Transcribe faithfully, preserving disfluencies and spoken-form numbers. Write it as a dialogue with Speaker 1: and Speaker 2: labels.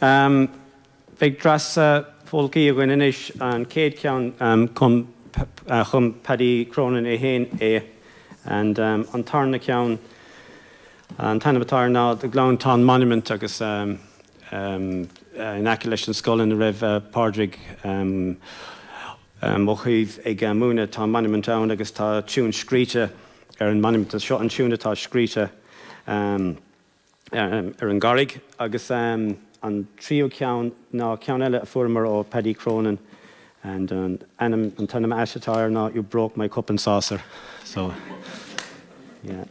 Speaker 1: Um, Beidh dreas uh, polcaí againn anois an chéad ceann um, chum, uh, chum Paddy Cronin é féin é and um, an tarna ceann an t-ainm atá ná the Glounthaune Monument agus um, um, uh, in aice leis an scoil ina raibh uh, Pádraig um, um, Ó Caoimh ag uh, múineadh tá monument ann agus tá tune scríte ar an monument seo an tune atá scríte um, um, ar an gcarraig agus um, an tríú ceann ná ceann eile a fuaireamar ó Paddy Cronin and an ainm an t-ainm atá air ná you broke my cup and saucer so yeah.